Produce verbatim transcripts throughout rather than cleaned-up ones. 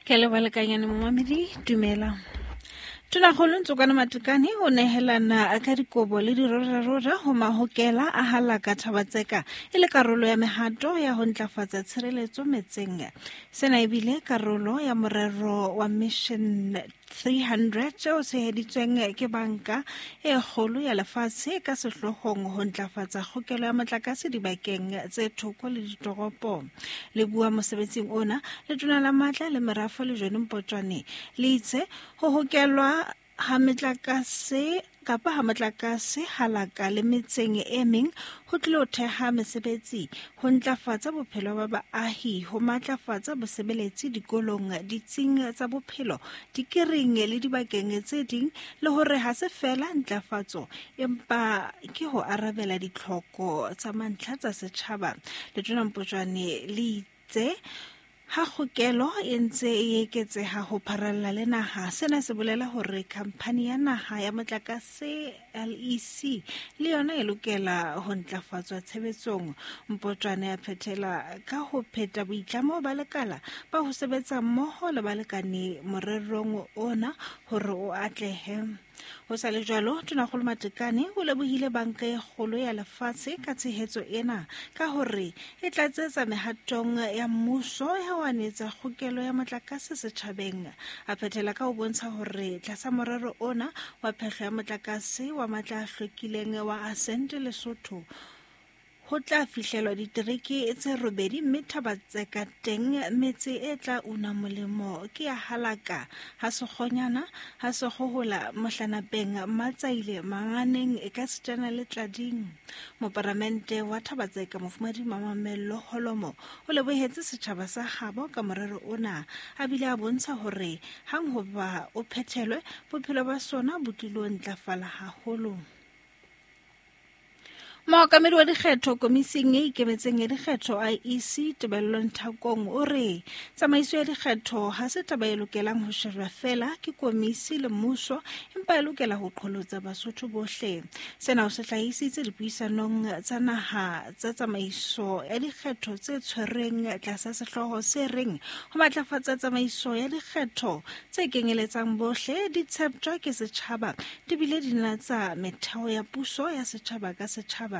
Ke leboha lekanyane momamedi, dumela. Tonakgolo Ntsokwana Matekane o nehelana ka dikobo le dirorarora ho mahokela a halaka Thaba-Tseka e le karolo ya mehato ya ho ntlafatsa tshireletso metseng. Sena ebile karolo ya morero wa Mission three hundred o tsheheditsweng ke banka e kgolo ya lefatshe ka sehloohong ho ntlafatsa kgokelo ya motlakase dibakeng tse thoko le ditoropo. Le bua mosebetsing ona, Letona la Matla le Merafo le John Mpotjwane le itse ho hokelwa ha metlakase kapa ha motlakase halaka le metseng e meng ho tlilo theha mesebetsi, ho ntlafatsa bophelo ba baahi, ho matlafatsa bosebeletsi dikolong, ditsing tsa bophelo, dikereng le dibakeng tse ding, le hore ha se feela ntlafatso empa ke ho arabela ditlhoko tsa mantlha tsa setjhaba. Letona Mpotjwane le itse ha kgokelo e ntse e eketseha ho pharalla le naha, sena se bolela hore khamphani ya naha ya motlakase L E C le yona e lokela ho ntlafatswa tshebetsong. Mpotjwane a phethela ka ho pheta boitlamo ba lekala ba ho sebetsa mmoho le balekane morerong ona hore o atlehe. Ho sa le jwalo, Tonakgolo Matekane o lebohile banka e kgolo ya lefatshe ka tshehetso ena ka hore e tlatsetsa mehatong ya mmuso ya ho anetsa kgokelo ya motlakase setjhabeng. A phethela ka ho bontsha hore tlasa morero ona wa phehlo ya motlakase wa matla a hlwekileng wa Ascent Lesotho ho tla fihlelwa ditereke tse robedi mme Thaba-Tseka teng metse e tla una molemo ke ya Halaka, ha Sekgonyana, ha Sekgohola, Mohlanapeng, Matsaile, Manganeng e ka sitana le Tlading. Moparamente wa Thaba-Tseka Mofumahadi Mamello Holomo o lebohetse setjhaba sa habo ka morero ona, a bile a bontsha hore hang hoba o phethelwe bophelo ba sona bo tlilo ntlafala haholo. Mookamedi wa dikgetho komising e ikemetseng ya dikgetho I E C Tebello Nthakong o re tsamaiso ya dikgetho ha se taba e lokelang ho shejwa feela ke komisi le mmuso, empa e lokela ho qholotsa Basotho bohle. Sena o se hlahisitse dipuisanong tsa naha tsa tsamaiso ya dikgetho tse tshwerweng tlasa sehlooho se reng ho matlafatsa tsamaiso ya dikgetho tse kenyeletsang bohle, di tsheptjwa ke setjhaba, di bile di natsa metheo ya puso ya setjhaba ka setjhaba.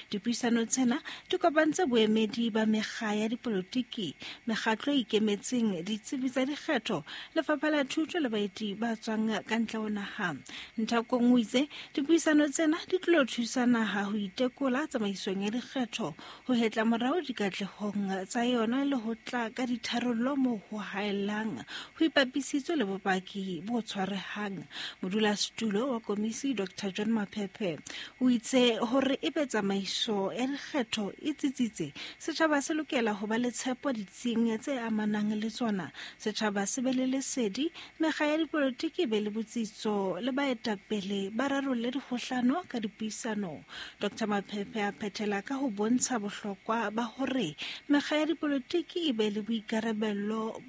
Dipuisano tsena di kopantse boemedi ba mekga ya dipolotiki, mekgatlo e ikemetseng, ditsebi tsa dikgetho, lefapha la thuto le baeti ba tswang ka ntle ho naha. Nthakong o itse dipuisano tsena di tlilo thusa naha ho itekola tsamaisong ya dikgetho, ho hetla morao dikatlehong tsa yona le ho tla ka ditharollo moo ho haellang, ho ipapisitswe le bopaki bo tshwarehang. Modulasetulo wa komisi Doctor John Maphephe o itse hore e be tsamaiso ya dikgetho e tsitsitse, setjhaba se lokela ho ba le tshepo ditsing tse amanang le tsona, setjhaba se be le lesedi, mekga ya dipolotiki e be le botsitso le baetapele ba rarolle dikgohlano ka dipuisano. Doctor Maphephe a phethela ka ho bontsha bohlokwa ba hore mekga ya dipolotiki e be le boikarabello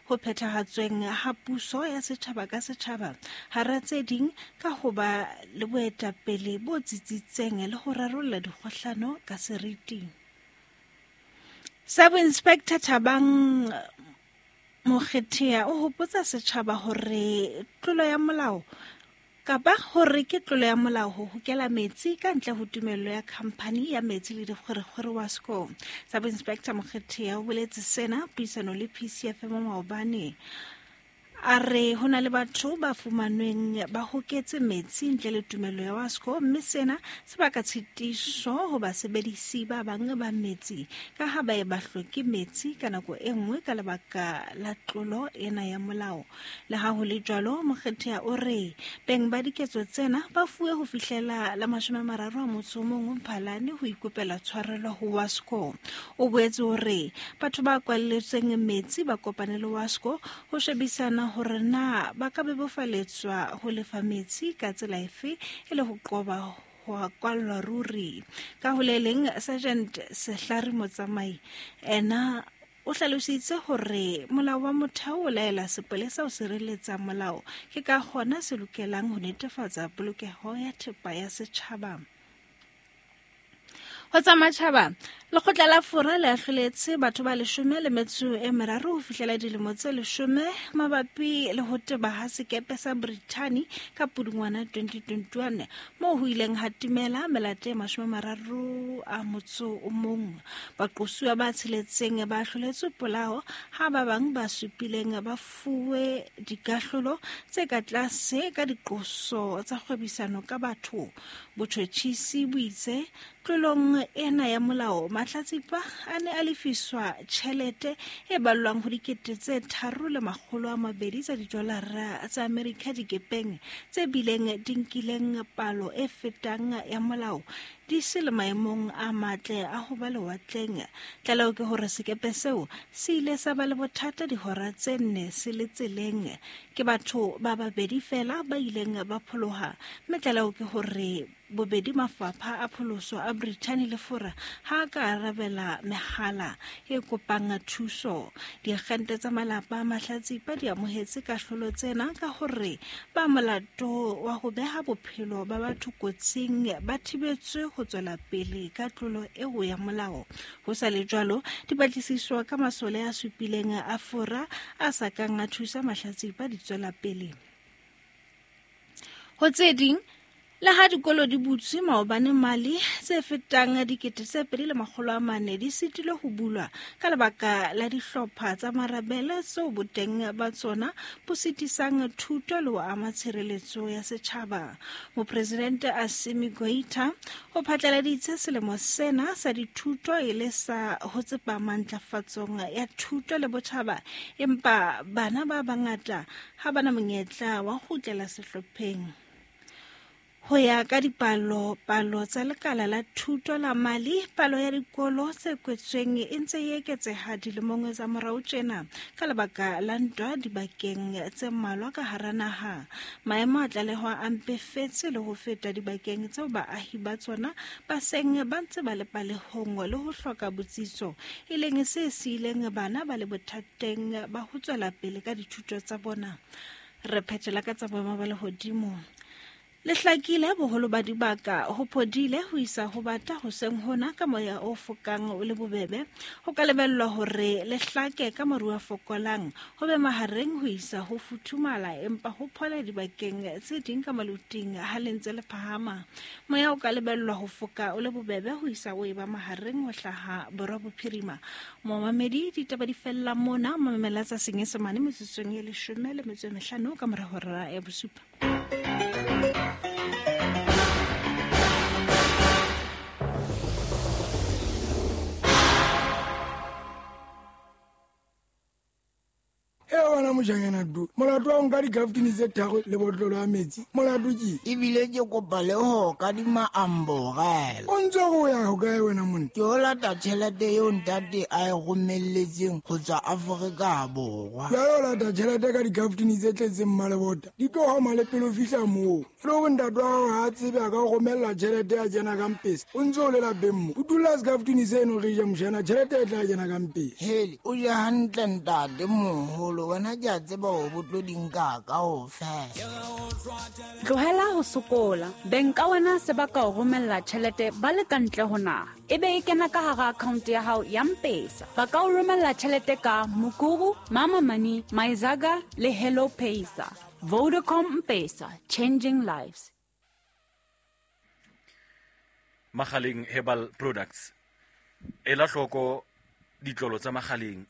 ho phethahatsweng ha puso ya setjhaba ka setjhaba, hara tse ding ka ho ba le boetapele bo tsitsitseng le ho rarolla dikgohlano ka seriti. Sub-Inspector Thabang Mokgethea o hopotsa setjhaba hore tlolo ya molao kapa hore ke tlolo ya molao ho hokela metsi ka ntle ho tumello ya khamphani ya metsi le dikgwerekgwere Wasco. Sub-Inspector Mokgethea o boletse sena puisano le P C F M maobane. A re ho na le batho ba fumanweng ba hoketse metsi ntle le tumello ya Wasco, mme sena se baka tshitiso ho basebedisi ba bang ba metsi ka ha ba e ba hloke metsi ka nako e nngwe ka lebaka la tlolo ena ya molao. Le ha ho le jwalo, Mokgethea o re beng ba diketso tsena ba fuwe ho fihlela la mashome a mararo a motso o mong Mphalane ho ikopela tshwarelo ho Wasco. O boetse o re batho ba kwalletsweng metsi ba kopane le Wasco ho shebisana hore na ba ka bebofaletswa ho lefa metsi ka tsela efe e le ho qoba ho kwallwa ruri. Ka ho le leng, Sergeant Sehlare Motsamai ena o hlalositse hore molao wa motheo o laela sepolesa ho sireletsa molao, ke ka hona se lokelang ho netefatsa polokeho ya thepa ya setjhaba. Ho tsa matjhaba, lekgotla la Fora le ahloletse batho ba leshome le metso e meraro ho fihlela dilemo tse leshome mabapi le ho teba ha sekepe sa Brithani ka Pudungwana twenty twenty-one moo ho ileng ha timela melato e mashome a mararo a motso o mong. Baqosuwa ba tsheletseng ba ahloletswe polao ha ba bang ba supileng ba fuwe dikahlolo tse ka tlase ka diqoso tsa kgwebisano ka batho. Botjhotjhisi bo itse tlolong ena ya molao mahlatsipa a ne a lefiswa tjhelete e ballwang ho dikete tse tharo le makgolo a mabedi tsa didolara tsa Amerika dikepeng tse bileng di nkileng palo e fetang ya molao di se le maemong a matle a ho ba lewatleng. Tlaleho ke hore sekepe seo se ile sa ba le bothata dihora tse nne se le tseleng. Ke batho ba babedi fela ba ileng ba pholoha, mme tlaleho ke hore bobedi mafapha a pholoso a Brithani le Fora ha ka arabela mehala e kopang thuso. Diakgente tsa malapa a mahlatsipa di amohetse kahlolo tsena ka hore ba molato wa ho beha bophelo ba batho kotsing ba thibetswe ho tswela pele ka tlolo eo ya molao. Ho sa le jwalo, dipatlisiso ka masole a supileng a Fora a sa kang a thusa mahlatsipa di tswela pele. Ho tse ding, le ha dikolo di butswe maobane Mali, tse fetang dikete tse pedi le makgolo a mane di sitilwe ho bulwa ka lebaka la dihlopha tsa marabele tseo boteng ba tsona bo sitisang thuto le ho ama tshireletso ya setjhaba. Mopresidente Assimi Goïta o phatlaladitse selemo sena sa dithuto e le sa ho tsepama ntlafatsong ya thuto le botjhaba, empa bana ba bangata ha bana monyetla wa ho kgutlela sehlopheng. Ho ya ka dipalo palo tsa lekala la thuto la Mali, palo ya dikolo tse kwetsweng e ntse e eketseha dilemong tsa morao tjena ka lebaka la ntwa dibakeng tse mmalwa ka hara naha. Maemo a tlalehwa a mpefetse le ho feta dibakeng tseo baahi ba tsona ba seng ba ntse ba le palehong le ho hloka botsitso, e leng se siileng bana ba le bothateng ba ho tswela pele ka dithuto tsa bona. Re phethela ka tsa boemo ba lehodimo. Le hlakile boholo ba dibaka ho phodile ho isa ho bata hoseng hona ka moya o fokang o le bobebe. Ho ka lebellwa hore le hlake ka maru a fokolang ho be mahareng ho isa ho futhumala, empa ho phole dibakeng tse ding ka maluting ha le ntse le phahama. Moya o ka lebellwa ho foka o le bobebe ho isa o eba mahareng ho hlaha borwa bophirima. Momamedi, ditaba di fella mona. Mamela tsa Senyesemane metsotsong e leshome le metso e mehlano ka mora hora ya bosupa. E wena mojanyana du molato wa nka dikaftini tse tharo le botlolo ya metsi molato ke ebile ke kopa le ho kadima amborela. O ntse go ya ho kae wena monna? Ke o lata tjhelete eo ntate a e romelletseng ho tswa Afrika Borwa. Jwale o lata tjhelete ka dikaftini tse tletseng mmalebota di tlo homa le pele o fihla moo. Le hore ntate wa hao ha a tsebe a ka o romella tjhelete ya kena ka mpesa o ntse o le lapeng mo. O dula sekaftini seno re ja mojana tjhelete e tla kena ka mpesa. Hele o ja hantle ntate moholo, wena ke a tseba hore bo tlo di nka kaofela. Tlohela ho sokola. Beng ka wena se ba ka o romella tjhelete ba le ka ntle ho naha, e be e kena ka hara account ya hao ya M-Pesa. Ba ka o romella tjhelete ka Mukuru, Mama Money, Myzaga le Hello Pesa. Vodacom M-Pesa, changing lives. Magaleng Herbal Products. Ela hloko ditlolo tsa Magaleng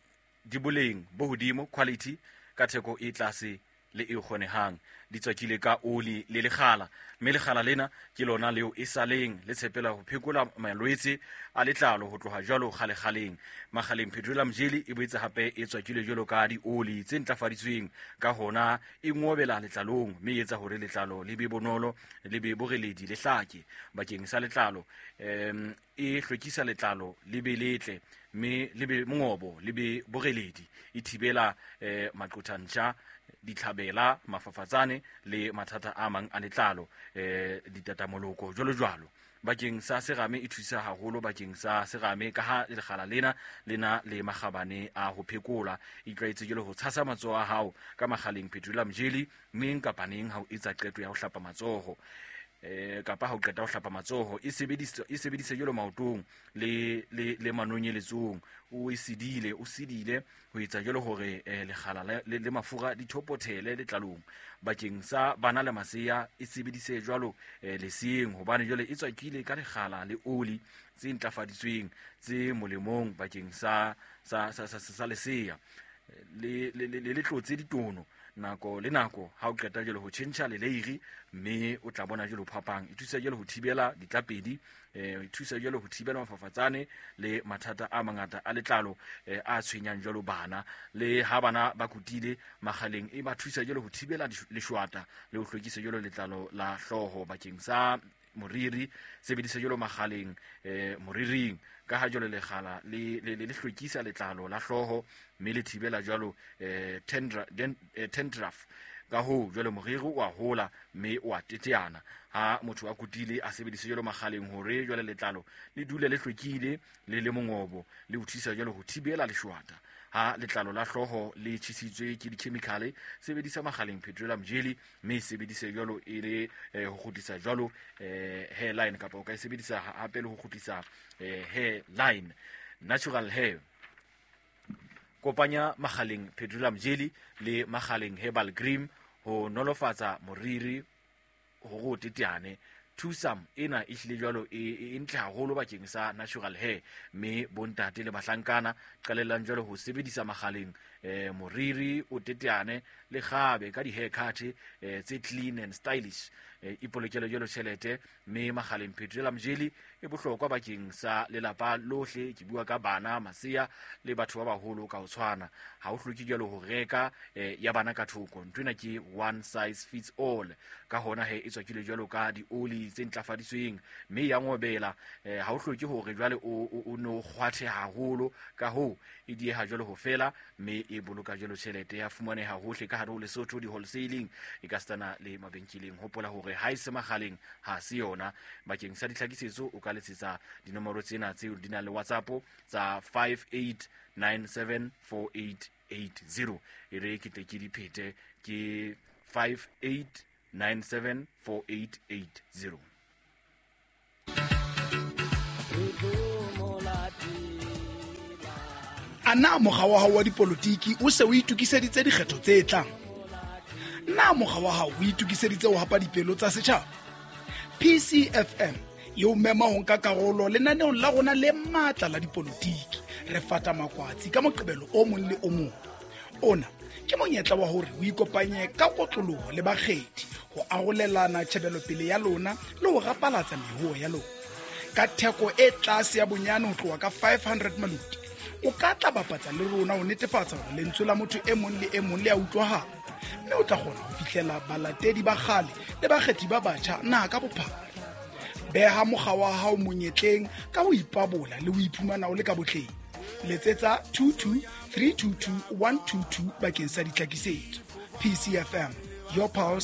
di boleng bo hodimo, quality ka theko e tlase le e kgonehang. Di tswakile ka oli le lekgala, mme lekgala lena ke lona leo e saleng le tshepela ho phekola malwetse a letlalo ho tloha jwalo kgalekgaleng. Magaleng Petroleum Jelly e boetse hape e tswakile jwalo ka dioli tse ntlafaditsweng, ka hona e ngobela letlalong mme e etsa hore letlalo le be bonolo, le be boreledi, le hlake. Bakeng sa letlalo em e hlwekisa letlalo le be letle mme le be mongobo le be boreledi. E thibela eh, maqothantjha, ditlhabela, mafafatsane le mathata a mang a letlalo, eh ditatamoloko jwalo jwalo. Bakeng sa serame e thusa haholo bakeng sa serame ka ha lekgala lena lena le makgabane a ho phekola. Itlwaetse jwalo ho tshasa matsoho a hao ka Magaleng Petroleum Jelly neng kapa neng ha o etsa qeto ya ho hlapa matsoho. eh kapa ha o qeta ho hlapa matsoho. E sebedise e sebedise jwalo maotong le le le manonyeletsong, o e sidile o sidile ho etsa jwalo hore lekgala le le mafura di thopothele letlalong. Bakeng sa bana le masea e sebedise jwalo leseng, hobane jwale e tswakile ka lekgala le oli tse ntlafaditsweng tse molemong bakeng sa sa sa sa, sa lesea. Le le le le tlotse ditono nako le nako ha o qeta jwale ho tjhentjha leleiri, mme o tla bona jwale phapang. E thusa jwale ho thibela ditlapedi, eh e thusa jwale ho thibela mafafatsane le mathata a mangata a letlalo a tshwenyang jwalo bana. Le ha bana ba kutile magaleng, e ba thusa jwale ho thibela leshwata le ho hlwekisa jwalo letlalo la hlooho. Bakeng sa moriri, sebedisa jwalo magaleng eh moriring, ka ha jwalo lekgala le le le hlwekisa letlalo la hlooho mme le thibela jwalo eh tendra tendruff. Ka ho jwalo moriri o a hola mme o a teteana ha motho a kutile a sebedise jwalo magaleng hore jwale letlalo le dule le hlwekile le le mongobo, le ho thusa jwalo ho thibela leshwata. Ha letlalo la hlooho le tjhisitswe ke di-chemical, sebedisa magaleng petroleum jelly, mme sebedise jwalo e le ho kgutlisa jwalo hairline, kapa o ka e sebedisa hape le ho kgutlisa hairline, natural hair. Kopanya magaleng petroleum jelly le magaleng herbal cream ho nolofatsa moriri hore o teteane. Thusam ena e hlile jwalo e ntle haholo bakeng sa natural hair, mme bontate le bahlankana qalellang jwalo ho sebedisa magaleng eh moriri o teteane le kgabe ka di-haircut eh, tse clean and stylish. Eh, ipolokele jwalo tjhelete, mme magaleng petroleum jelly e bohlokwa bakeng sa lelapa lohle. Ke bua ka bana, masea le batho ba baholo ka ho tshwana. Ha o hloke jwalo ho reka eh, ya bana ka thoko, nthwena ke one size fits all. Ka hona he e tswakile jwalo ka dioli tse ntlafaditsweng mme ya ngobela. eh, ha o hloke hore jwale o o no kgwathe haholo, ka hoo e dieha jwalo ho fela, mme e boloka jwalo tjhelete. Ya fumaneha hohle ka hare ho Lesotho, di wholesaling e ka stana le mabenkeleng. Hopola hore ha e se magaleng ha se yona. Bakeng sa ditlhakisetso o ka letsetsa dinomoro tsena tseo di nang le WhatsApp tsa five eight nine seven four eight eight zero. E re ke tle ke di phete, ke five eight nine seven four eight eight zero. A na mokga wa hao wa dipolotiki o se o itokiseditse dikgetho tse tlang? Na mokga wa hao o itokiseditse ho hapa dipelo tsa setjhaba? P C F M e o mema ho nka karolo lenaneong la rona le matla la dipolotiki. Re fata makwatsi ka Moqebelo o mong le o mong. Ona ke monyetla wa hore o ikopanye ka kotloloho le bakgethi ho arolelana tjhebelopele ya lona le ho rapalatsa mehoho ya lona. Ka theko e tlase ya bonyane ho tloha ka five hundred maluti, o ka tla bapatsa le rona ho netefatsa hore lentswe la motho e mong le e mong le a utlwahala, mme o tla kgona ho fihlela balatedi ba kgale le bakgethi ba batjha naha ka bophara. Beha mokga wa hao monyetleng ka ho ipabola le ho iphumana o le ka botleng. Letsetsa two two three two two one two two bakeng sa ditlhakisetso. P C F M, your pulse,